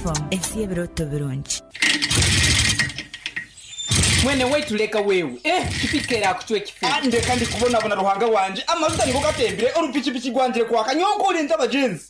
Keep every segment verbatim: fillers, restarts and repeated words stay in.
F M, ensi y'ebirooto birungi. Mwene waitu leka wewe, eh, pikipiki erakucwa ekifu. Ah, ndeka ndikubonabona Ruhanga wanje, amajuta nigo gatembire, orupikipiki rwangire kwaka, nyonkole abagenzi.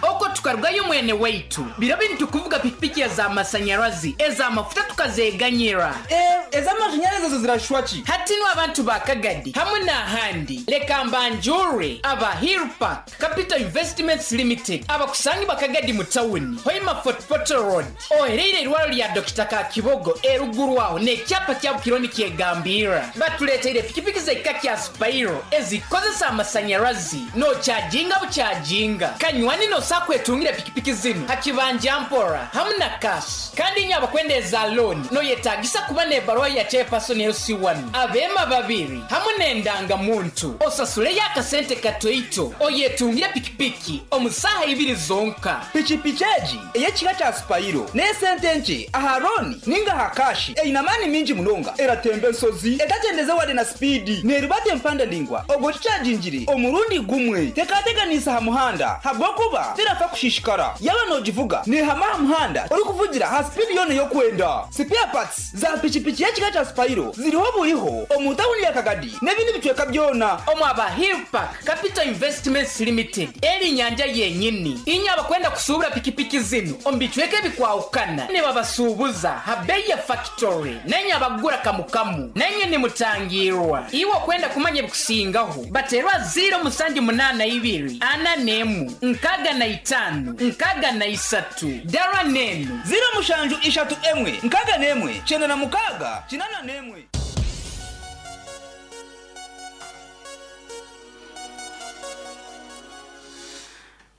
Oko tukarugayo mwene waitu, biro bintu kuvuga pikipiki ez'amasanyarazi, ez'amafuta tukazeganyira. Eh, ez'amashanyarazi ezo zirashwa ki? Hati nu abantu ba Kagadi hamwe n'ahandi, leka mbanjure aba Hillpark Capital Investments Limited, abakusangi bakagadi mu tawuni Hoima Fort Portal Road, ohereire irwaro lya Dokita Kakibogo eruguru aho n'ekyapa kya Bukironi kyegambira. Batuleteire pikipiki z'ekika kya Spiro ezikozesa amasanyarazi, nokyajinga bukyajinga kanywani, nosakwetungire pikipiki zinu hakibanja mpora hamwe na cash. Kandi nyo abakwenda eza loan, noyetagisa kuba n'ebaruwa ya chairperson L C one, abema babiri hamwe n'endangamuntu, osasuleyo akasente katoito oyetungire pikipiki omu saaha ibiri zonka. Pikipiki egi ey'ekika kya Spiro n'esente nkye aha loan ninga aha cash, eine amaani mingi munonga, eratemba ensozi etagyendeze wade na speed, neribata empanda ndingwa ogwo kikyagingire omurundi gumwe, tekateganisa aha muhanda habwokuba terafa kushishikara. Yaba nogivuga nehama aha muhanda orikuvugira ha speed yona y'okwenda. Spare parts za pikipiki y'ekika kya Spiro ziriho buriho omu tawuni ya Kagadi n'ebindi bicweka byona. Omu aba Hillpark Capital Investments Limited eri nyanja yenyini. Inye abakwenda kusuubura pikipiki zinu omu bicweka ebikwahukana, nibabasuubuza ha bei ya factory, nenye abagura kamukamu nenye nimutangirwa. Iwe okwenda kumanya ebikusingaho, baterwa ziro musanju munaana ibiri ana nemu nkaga na itano nkaga na isatu dara nenu. ziro mushanju ishatu emwe nkaga nemwe kyenda na mukaaga kinana nemwe.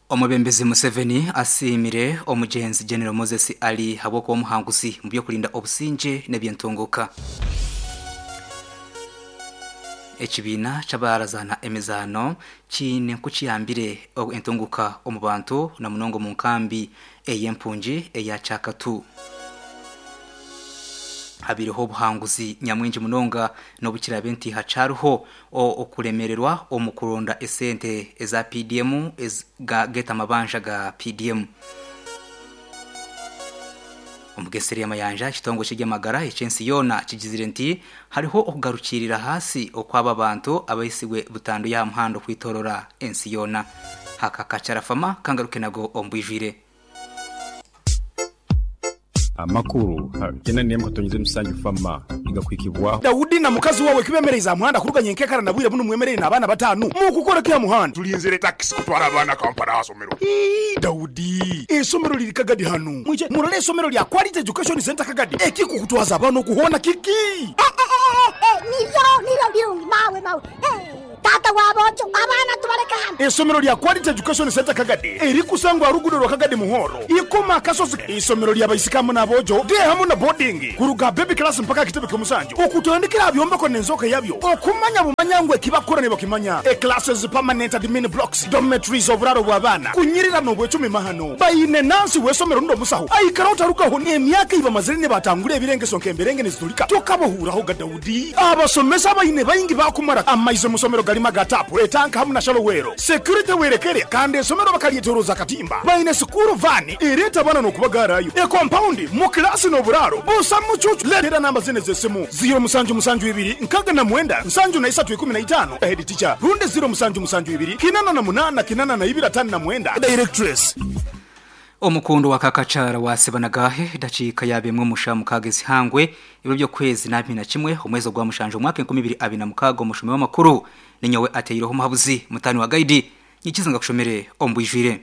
Omubembezi Museveni asiimire omugenzi General Moses Ali habwokuba omuhanguzi mu by'okurinda obusinge n'ebyentunguka. Ekibiina ky'abarazana emizaano kiine nkukiyambire entunguka omu bantu na munonga omu nkambi ey'empungi eya Kyakatu. Habiriho obuhanguzi nyamwingi munonga n'obukirabe nti hacaruho okuremererwa omu kuronda esente eza P D M geta amabanja ga P D M. Omugeseri y'amayanja, ekitongole ky'ebyamagara ekyensi yoona kigizire nti hariho okugarukirira hasi okwaba bantu abahisigwe butandu y'aha muhanda okwitorora ensi yoona. Haka kacarafama kangaruke nago ombwijwire. Amakuru kyenda nemwe katonyize musanju fama igakwikibwaho. Dawudi na mukazi wawe kibemereza muhanda kuruganya enkekara na bwire buno, mwemerere n'abaana batanu mukukora kya muhanda. Tulinzire takisi kutwara abaana Kampala hasomero. Ii, Dawudi, esomero liri Kagadi hano, mwije murole esomero lya Quality Education Center Kagadi. Ekikukutwaza abaana okuhona kiki? Nivyo nivyo birungi mawe mawe. Eh, tata wabojo, abaana tubaleka hano. Esomero lya Quality Education Center Kagadi erikusangwa rugudo rwa Kagadi Muhoro ikoma akasozi, isomero lyabaisikamu n'abojo de hamu na boarding, kuruga baby class mpaka kitebe ky'omusanju, okutandikira byombeko n'enzoka yabyo okumanya bumanya ngu ekibakora ne bakimanya. E classes, permanent admin blocks, dormitories, oburaro bw'abaana kunyirira n'obwecumi mahano. Bayine nansi w'esomero ndo musaho aikara otarugaho n'emyaka ibamazire ne batangura ebirengeso nk'emberenge nizitulika tokabohuraho ga. Dawudi, abasomesa bayine bayingi bakumara amaize musomero galima ga tap, etanka hamu na shallow well, security werekere, kandi esomero bakalyetoroza katimba. Bayine school van ereta abana n'okubagarayo, e compound mu klasi n'oburaro busa mucucu. Letera namba zine z'esimu: ziro musanju musanju ibiri nkaga na mwenda nsanju na isatu ikumi na itano, head teacher, rundi ziro musanju musanju ibiri kinana na munana kinana na ibiri atanu na mwenda, directress. Omukundo wa Kakacara wasibanagahe daciika yabemwe musha mukagezi hangwe ibiro byo kwezi na na kimwe omwezi gwa mushanje omwaka enkumi ibiri abiri na mukaaga. Omushumi w'amakuru ninyowe ateireho omuhabuzi mutani wa gaidi nyikiza kushomere ombwijwire.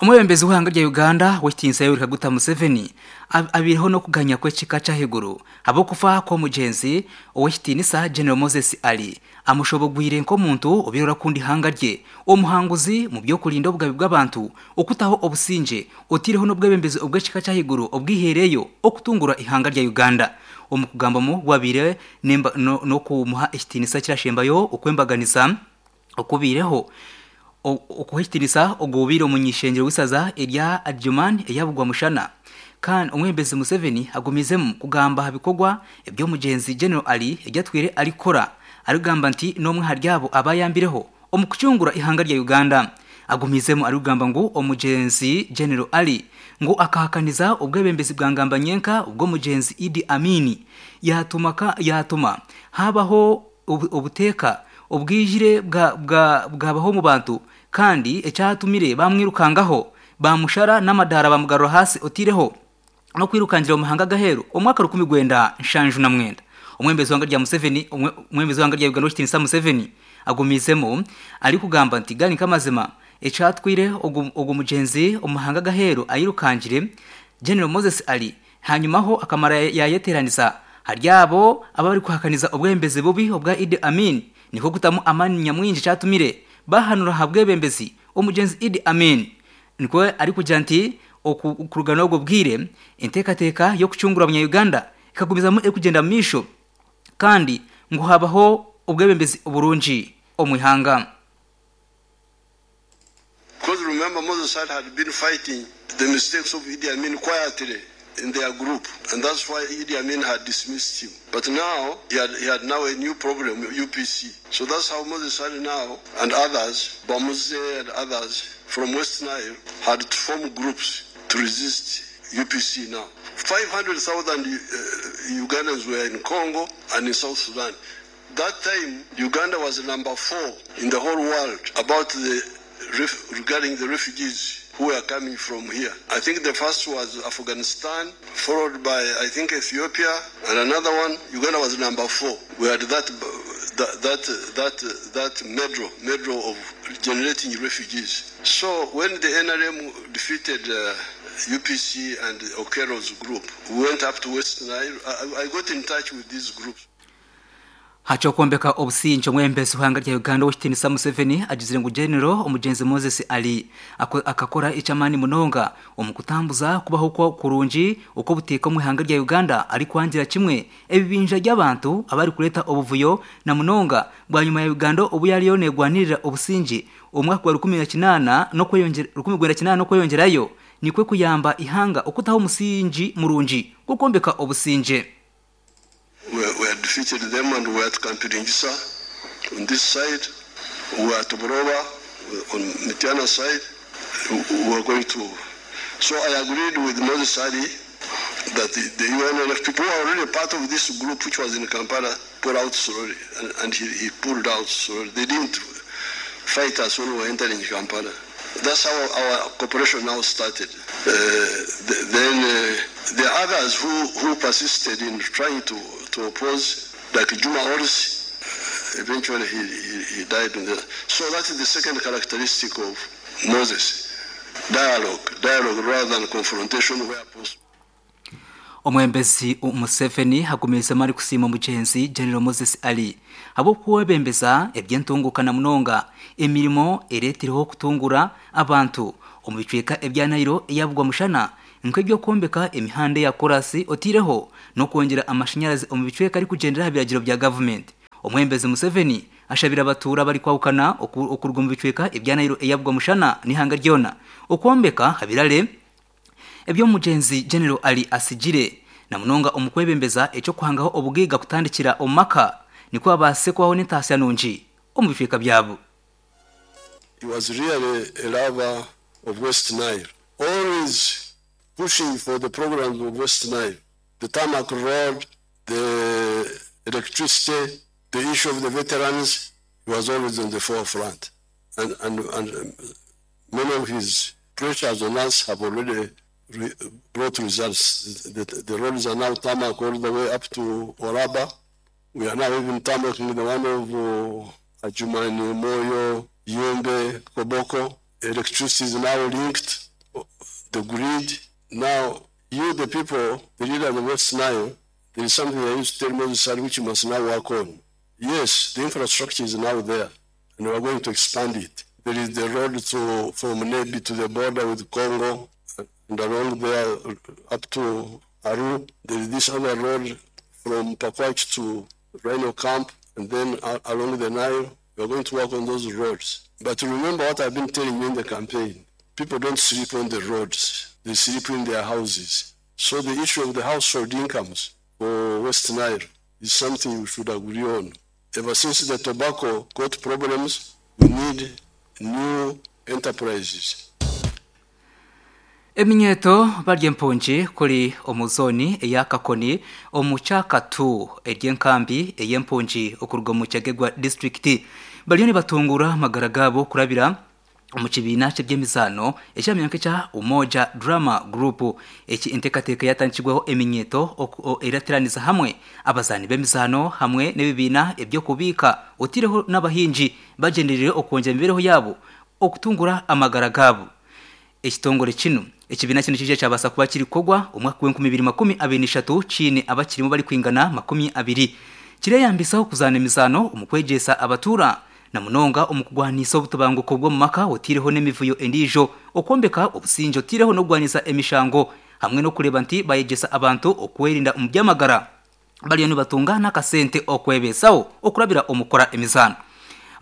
Omwebembezi w'ihanga rya Uganda w'ekitinisa Yoweri Kaguta Museveni ab- abireho n'okuganya kw'ekika ky'ahaiguru habw'okufa kw'omugenzi ow'ekitinisa General Moses Ali, amushobogwire nk'omuntu obirora kundi ihanga rye, omuhanguzi mu by'okurinda obugabe bw'abantu, okutaho obusinge, otireho n'obwebembezi obw'ekika ky'ahaiguru obwihereyo okutungura ihanga rya Uganda. Omu kugambamu gwabire nemba- no- n'okumuha ekitinisa kirashembayo okwembaganiza okubireho okuhikitinisa ogubire omunyishengero w'isaza erya Adjuman eyabugwa mushana. Kandi omwembezi Museveni agumizemu kugamba ha bikorwa eby'omugenzi General Ali ebyatwire arikora, arigamba nti n'omwe hari abo abayambireho omu kucungura ihanga rya Uganda. Agumizemu arikugamba ngu omugenzi General Ali ngu akahakaniza obwebembezi bwa Ngambanyenka ubw'omugenzi Idi Amini yatuma ka yatuma habaho obuteeka obwijire bwa bwabaho mu bantu kandi ecyatumire bamwirukangaho bamushara n'amadara bamugarura hasi otireho no kwirukangira mu mahanga gahero omwaka rukumi gwenda nshanju na mwenda. Omwembezi wanga rya Museveni omwembezi wanga rya Uganda Kitinisa Museveni agumizemo ari kugamba nti gani kamazima ecatwire ogu mugenzi omuhanga gahero ayirukangire General Moses Ali hanyumaho akamara yayeteranisa haryabo abari kuhakaniza obwembezi bubi obwa Idi Amin niko kutamu amani nyamwinji cyatumire bahanura habwebembezi omugenzi Idi Amin niko ari kugira nti okurugana obwo bwire intekateka yo kucungura abanya Uganda ikagumizamo ekugenda misho kandi ngo habaho ubwebembezi oburungi omwihanga. Because remember, Moses Ali had been fighting the mistakes of Idi Amin quietly in their group, and that's why Idi Amin had dismissed him. But now, he had, he had now a new problem, U P C. So that's how Moses Ali now and others, Bamuze and others from West Nile, had to form groups to resist U P C now. five hundred thousand uh, Ugandans were in Congo and in South Sudan. That time, Uganda was number four in the whole world about the regarding the refugees who were coming from here. I think the first was Afghanistan, followed by, I think, Ethiopia, and another one, Uganda was number four. We had that that that that, that medal, medal of generating refugees. So when the N R M defeated uh, U P C and Okello's group, we went up to West Nile. I, I got in touch with these groups. Hachokombeka obusinje omwembezi w'ihanga rya Uganda Kitinisa Museveni agizire ngu General omugenzi Moses Ali akakora icamani munonga omukutambuza kubaho kwa kurungi uko buteka mu ihanga rya Uganda ari kwangira kimwe ebibinja by'abantu abari kuleta obuvuyo na munonga bwa nyuma ya Uganda obu yariyo negwanirira obusinje omwaka wa rukumi na kinana no kweyongera rukumi gwenda kinana no kweyongerayo nikwe kuyamba ihanga okutaho omusingi murungi gukombeka obusinje. We, we had defeated them and we were at Kampiringisa on this side, we were at Buroba on Mitiana side, we were going to. So I agreed with Moses Ali that the, the U N L F people who are already part of this group which was in Kampala pulled out slowly, and, and he, he pulled out slowly. They didn't fight us when we were entering Kampala. That's how our cooperation now started. Uh, the, then uh, the others who, who persisted in trying to, to oppose, like Juma Oris, eventually he, he, he died. In the, so that is the second characteristic of Moses. Dialogue, dialogue rather than confrontation where possible. Omwembezi Museveni hagumiza mari kusima mugenzi General Moses Ali abo kuwebembeza ebyentunguka na munonga emirimo eretiriho kutungura abantu omubicweka ebya Nairo eyabugwa mushana nk'ebyo kombeka emihanda ya korasi otireho no kongera amashanyarazi omubicweka ari kugendera habiragiro bya government. Omwembezi Museveni ashabira abatura bari kwawukana okurwa mu bicweka ebya Nairo eyabugwa mushana nihanga ryona okombeka habirale ebyo mugenzi General Ali asigire na munonga omukwebembeza eco kuhangaho obugiga kutandikira omaka niko abase kwaho n'entasya nungi omubicweka byabo. He was really a lover of West Nile, always pushing for the programs of West Nile, the tarmac road, the electricity, the issue of the veterans. He was always on the forefront, and, and, and many of his pressures on us have already re brought results. The, the, the roads are now tarmac all the way up to Oraba. We are now even tarmacking the one of uh, Adjumani, Moyo, Yumbe, Koboko. Electricity is now linked, the grid. Now, you, the people, the leader of the West Nile, there is something I used to tell Moses Ali which you must now work on. Yes, the infrastructure is now there, and we are going to expand it. There is the road to, from Nebi to the border with Congo, and along there up to Aru. There is this other road from Pakwach to Rhino Camp, and then along the Nile. We are going to work on those roads. But remember what I've been telling you in the campaign. People don't sleep on the roads. They sleep in their houses. So the issue of the household incomes for West Nile is something we should agree on. Ever since the tobacco got problems, we need new enterprises. Eminyeto barya empungi kuri omu zoni eya Kakoni omu kyakatu ery'enkambi ey'empungi okuruga omu Kyagegwa district bariyo nibatungura amagara gaabo kurabira omu kibiina ky'ebyemizaano ekyamyanka ekya Umoja Drama Group. Eki enteekateeka yatandikirweho eminyeto erateraniriza hamwe abazaani b'emizaano hamwe n'ebibiina eby'okubiika otiireho n'abahingi bagyenderire okwongyera emibeereho yaabo okutungura amagara gaabo. Ekitongore kino ekibiina kino kije kyabasa kuba kirikogwa omwaka gw'enkumi ibiri makumi abiri n'ishatu kiine abakirimu bari kwingana makumi abiri kireyambisaho kuzaana emizaano omu kwegyesa abatuura na munonga omu kugwanisa obutubanguko bw'omu maka otiireho n'emivuyo endiijo okwombeka obusinge otiireho n'okugwanisa emishango hamwe n'okureeba nti bayegyesa abantu okwerinda omu by'amagara bariyo nibatunga n'akasente okwebeesaho okurabira omu kukora emizaano.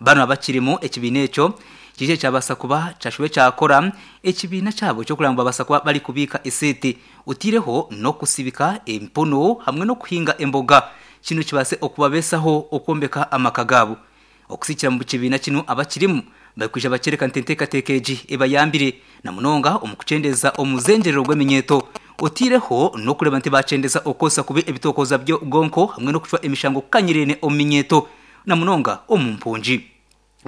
Bano abakirimu ekibiina ekyo kije kyabasa kuba kyashube kyakora ekibiina kyabo kyokuranga babasa kuba bari kubika esente otiireho n'okusibika empono hamwe n'okuhinga emboga kino kibase okubabeesaho okwombeka amaka gaabo. Okusikira mu kibiina kino abakirimu bakwija bakyereka nti enteekateeka egi ebayambire na munonga omu kukyendeza omuzengyerero gw'eminyeto otiireho n'okureeba nti bakyendeza okukozesa kubi ebitookoza by'obwonko hamwe n'okucwa emishango kukanyirene omu minyeto na munonga omu mpungi.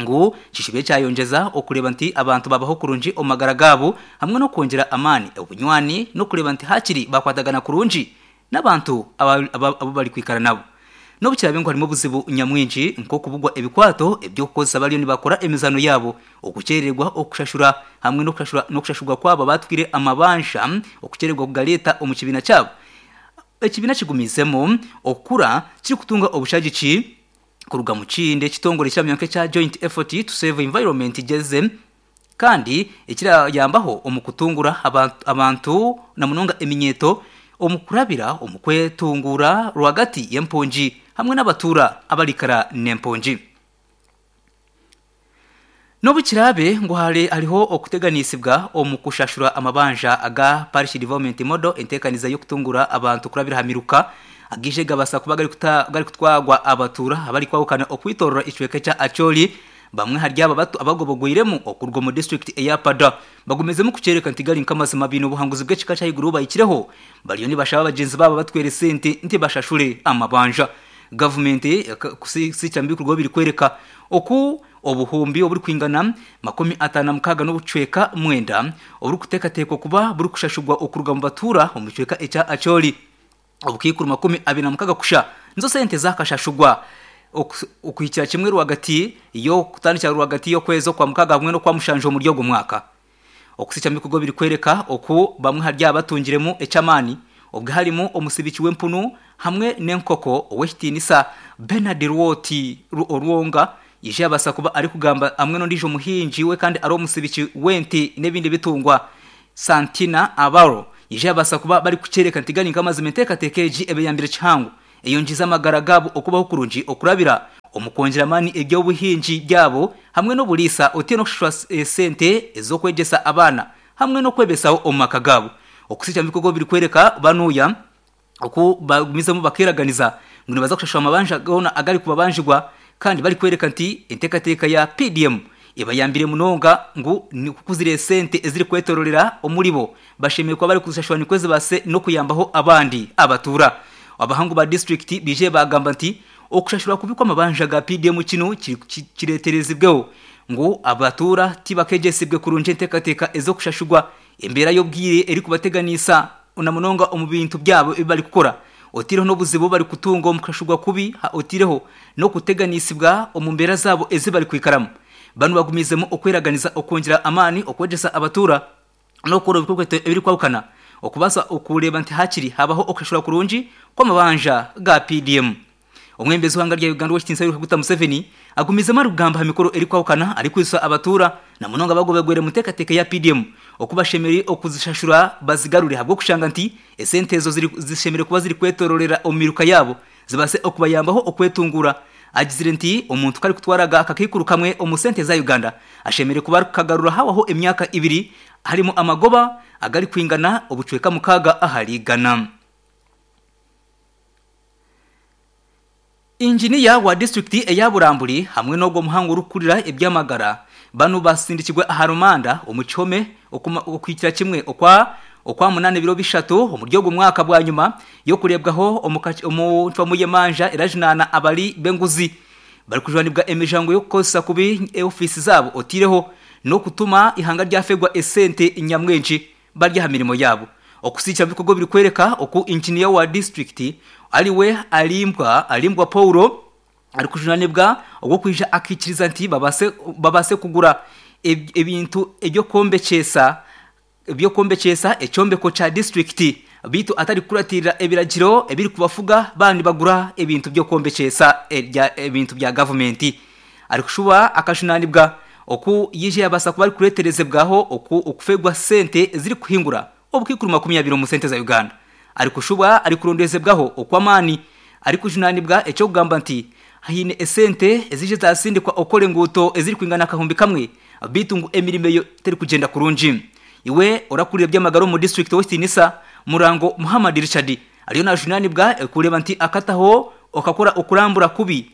Ngu kishibye kyayongyeza okureeba nti abantu babaho kurungi omu magara gaabo hamwe n'okwongyera amaani obunywani n'okureeba nti hakiri bakwatagana kurungi n'abantu abo bari kwikara nabo. N'obukirabe ngu harimu obuzibu nyamwingi nk'okubugwa ebikwato eby'okukozesa bariyo nibakora emizaano yaabo okukyererwa okushashura hamwe n'okushashurwa kwabo batwire amabanja okukyererwa kugareeta omu kibiina kyabo. Ekibiina kigumizemu okukura kirikutunga obushagiki kuruga mu kindi ekitongore kyamyanka ekya Joint Effort to Save Environment geze kandi ekirayambaho omu kutungura abantu na munonga eminyeto omu kurabira omu kwetungura rwagati y'empungi hamwe n'abatuura abarikara n'empungi. N'obukirabe ngu hare hariho okuteganisibwa omu kushashura amabanja aga Parish Development Model enteekaniza y'okutungura abantu kurabira ha miruka agije gabasa kuba gari kutwagwa abatura abari kwawukana okwitorora icweka kya Acholi bamwe hari aba bato abagobogwiremu okurwa mu district eya Pada bagumezemu kucereka nti gari nkamazima bino obuhanguzi bw'ekika kya iguru bayikireho bariyo nibashaba abagenzi babo batwere sente nti bashashure amabanja. Government kusikira mbikurwa biri kwereka oku obuhumbi oburi kwingana makumi atana mukaga n'obucweka mwenda oburi kuteekateekwa kuba buri kushashurwa okuruga mu batura omu cweka ekya Acholi obukikuru makumi abiri na mukaga kusha nizo sente zakashashurwa okuhikira kimwe rwagati yo kutandikira rwagati yo kwezi kwa mukaga hamwe no kwa mushanje omuri ogwo mwaka. Okusikya mbikurwa biri kwereka oku bamwe hari abatungiremu ekyamaani obwe harimu omusibiki w'empunu hamwe n'enkoko ow'ekitiinisa Bernard Rwoti Orwonga ije abasa kuba ari kugamba hamwe n'ondiijo muhingi we kandi ari omusibiki w'ente n'ebindi bitungwa Santina Abaro ije abasa kuba bari kukyereka nti gari nk'amazima enteekateeka egi ebeyambire kihango eyongiza amagara gaabo okubaho kurungi okurabira omu kwongyera amaani eby'obuhingi byabo hamwe n'oburiisa otiire n'okushashura esente ez'okwegyesa abaana hamwe n'okwebesaho omu maka gaabo. Okusikya mbikorwa biri kwereka banuya oku bagumizemu bakeraganiza ngu nibaza kushashura amabanja goona agari kubabanjigwa kandi bari kwereka nti enteekateeka ya P D M ebayambire munonga ngu nikukuzira esente eziri kwetororera omuribo bashemeye kuba bari kuzishashura nikwo zibase n'okuyambaho abandi abatura. Abahangu ba district bije bagamba nti okushashura kubikwa amabanja ga P D M kino kireterezibweho ngu abatura tibakegesibwe kurungi enteekateeka ez'okushashurwa embeera y'obwire eri kubateganisa na munonga omu bintu byabo ebi bari kukora otiireho n'obuzibu bari kutunga omu kushashurwa kubi otiireho n'okuteganisibwa omu mbeera zaabo ezi bari kwikaramu. Bano bagumizemu okweraganiza okwongyera amaani okwegyesa abatura n'okukora ebikorwa ebiri kwawukana okubasa okureeba nti hakiri habaho okushashura kurungi kw'amabanja ga P D M. Omwembezi w'ihanga rya Uganda w'ekitiinisa Yoweri Kaguta Museveni agumizemu arikugamba aha mikoro erikwawukana arikwisa abatura na munonga bagobegwere mu nteekateeka ya P D M okubashemereire okuzishashura bazigarure ahabw'okushanga nti esente ezo zishemereire kuba ziri kwetororera omu miruka yaabo zibase okubayambaho okwetungura. Agizire nti omuntu kari kutwaraga akakaikuru kamwe omu sente za Uganda ashemereire kuba arikukagarura hawaho emyaka ibiri harimu amagoba agari kwingana obucweka mukaga ahari igana. Injiniya wa district eya Buramburi hamwe n'ogwo muhango urukurira ebyamagara Banu basindikirwe aha rumanda omu kihome okwikira kimwe okwa okwa munane biro bishatu omuri ogwo mwaka bwa nyuma yo kurebwaho omu ncwamu y'emanja erajunana abali b'enguzi bari kujwanibwa emijango yo kukozesa kubi ofisi zabo otireho no kutuma ihanga ryafegwa esente nyamwenshi barya ha mirimo yabo. Okusicha bikorwa biri kwereka oku engineer wa district aliwe alimbwa alimbwa Paulo ari kujunanibwa ogwo kwija akikiriza nti babase babase kugura ebintu ebyo kombechesa ebyo kombechesa echombeko cha district bitu atari kuratirira ebiragiro ebiri kubafuga bandi bagura ebintu byo kombechesa ebintu bya government. Ari kushuba akajunanibwa oku yije yabasa kuba kureterezebwaho oku okufegwa sente ziri kuhingura obukikuru makumyabiri mu sente za Uganda. Ari kushuba ari kurondezebwaho okwamani ari kujunanibwa ecyo kugamba nti hine esente ezije zasindikwa okole nguto eziri kwingana kahumbi kamwe bitungu emirimo yo teri kugenda kurungi. Iwe orakurira by'amagaro mu district West Nisa Murango Muhammad Richard ariyo najunanibwa kureba nti akataho okakora okurambura kubi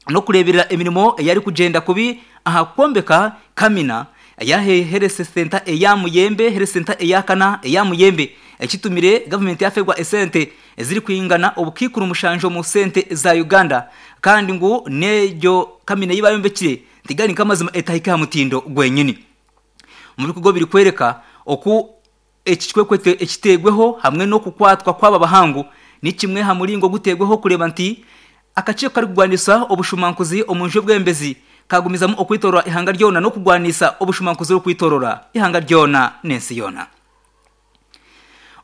no kureberera emirimo yari kugenda kubi aha kombeka kamina yahe health center eya Muyembe health center eya Kana eya Muyembe ekitumire government yafegwa esente eziri kwingana obukikuru mushanjo mu sente za Uganda kandi ngu nejo kamina yibayombekire ntigani kamazima etahika mutindo gwenyini. Mu bikorwa biri kwereka oku ekikwekwete ekitegweho hamwe no kukwatwa kwaba bahangu ni kimwe ha muringo gutegweho kureba nti akaciko kari kugwanisa obushumankuzi omunje bwembezi kagumizamu okwitorora ihanga ryona no kugwanisa obushumankuzi okwitorora ihanga ryona nensi yona.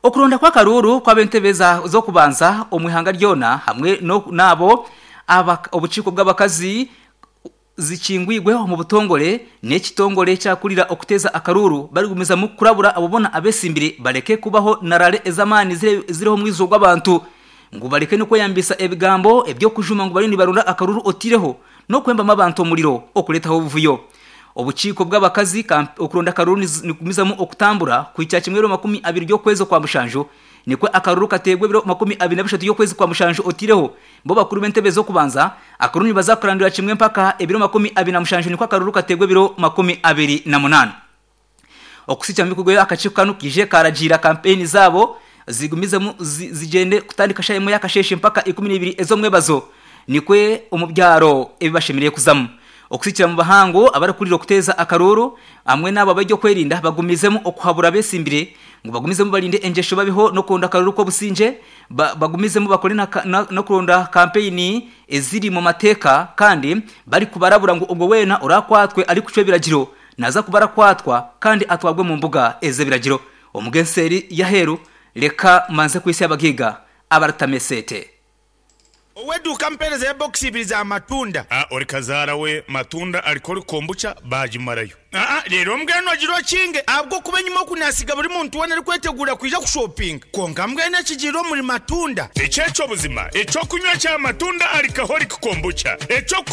Okuronda kwa karuru kwabentebeza zo kubanza omwihanga ryona hamwe no nabo obuciko bw'abakazi zikingwigwe mu butongole n'ekitongole cyakurira okuteza akaruru barigumiza mu kurabura abobona abesimbire bareke kubaho narare ezamani ziriho mwizo gw'abantu ngo bareke no kweyambisa ebigambo ebyo kujuma ngo barindi barunda akaruru otireho no kwemba mabantu omuliro okuletaho obuvuyo. Obuciko bw'abakazi okuronda akaruru nikumizamu okutambura kuicha kimwe makumi abiri ryo kwezi kwa mushanjo nikwe akaruru kategwe biro makumi abiri na bishatu yo kwezi kwa mushanjo otireho bo bakuru b'entebe zo kubanza akaruru bazakurandura kimwe mpaka ebiro makumi abiri na mushanjo nikwe akaruru kategwe biro makumi abiri na munane. Okusicha mbikugwe akaciko kanu kije karagira campaign zabo zigumizemu zigende kutandika shayemo yakasheshe mpaka ikumi n'ibiri ezo mwebazo nikwe omubyaro ebibashemiriye kuzamu. Okusichira mu bahango abarakurira okuteza akaruru amwe nabo bajyo kwerinda bagumizemu okuhabura besimbire ngo bagumizemu balinde enjesho babiho no konda akaruru ko businje ba, bagumizemu bakore na, na, no kuronda campaign eziri mu mateka kandi bari kubarabura ngo ubwo wena urakwatwe ari kucwe biragiro naza kubarakwatwa kandi atwagwe mu mbuga eze biragiro. Omugenseri yaheru leka manze kwisi abagiga abaratamesete Oweduka mpereza ya box ibiri za matunda. Ah, ori kazara we matunda alikori kombucha bajimarayo. Ah, ah, rero mbweno agiro kinge abwo kubenyuma kunasiga buri muntu wena ari kwetegura kwija kushopping. Konka mbwene kijiro muri matunda. Echecho buzima, echo kunywa cha matunda alikahori kombucha. Echo